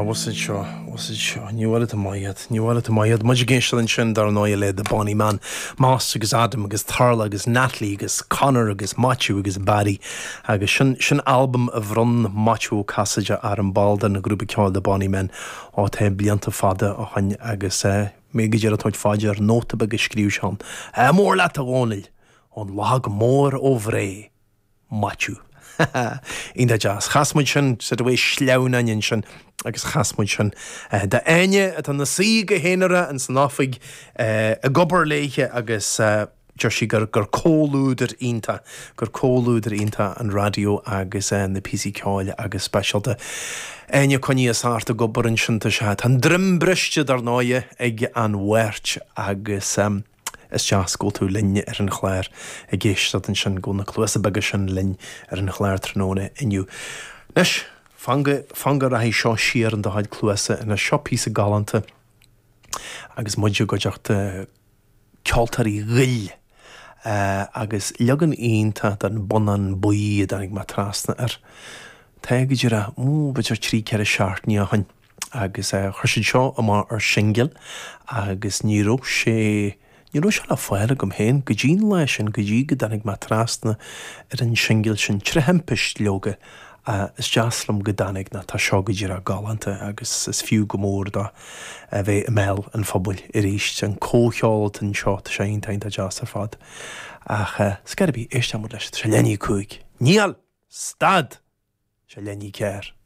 Bhfuil fhios seo, bhfuil fhios seo, ní bhfuil tú maith iad, ní bhfuil tú maith iad. Muid ag éisteacht ansin dar ndóigh le The Bonny Men, Moss agus Adam agus Tarla agus Natalie agus Conor agus Maitiú agus Barry agus sin, sin albam a bhronn Maitiú Ó Casaide orm, ball den ghrúpa ceoil The Bonny Men ó tá blianta fada ó shoin agus eh, mé go díreach ag tabhairt fá dear nóta beag a scríobh sé ann. Ádh mór leat a Dhónaill, ón Lag Mór ó Bhré. Maitiú. Iontach deas. Chas muid sin sort of sleamhnáin ansin agus chas muid sin d'Áine atá ina suí go haonarach ins an oifig ag obair léithe agus deir sí gur gur comhluadar iontach, gur comhluadar iontach an raidió agus na píosaí ceoil agus speisialta. Áine coinnithe thart ag obair ansin tá sé, tá an droim briste dar ndóighe ag an Mháirt agus. Is deas go bhfuil tú linn ar an chlár ag éisteacht ansin, go bhfuil na cluasa beaga sin linn ar an chlár tráthnóna inniu. Anois, fan go, fan go rachaidh seo siar in do chuid cluasa anois. Seo píosa galánta agus muid i gcuideachta Ceoltóirí Ghoill agus leagan iontach den Bonnán Buí a dtáinig mé trasna air. Tá go díreach, ó, b'fhéidir 3, 4 seachtainí ó shin. agus chuir siad seo amach ar shingil agus ní raibh sé, ní raibh sé le fáil agam féin go dtí an lá sin, go dtí go dtáinig mé trasna ar an singil sin, tré thimpist leoga, is deas liom go dtáinig nó tá seo go díreach galánta agus is fiú go mór dó a bheith i mbéal an phobail arís. An comhcheol atá anseo, tá sé iontach iontach deas ar fad. Ach scor ar bith, éistfidh muid leis, tá sé leath i ndiaidh 5. Níl! Stad! Sé leath i ndiaidh 4.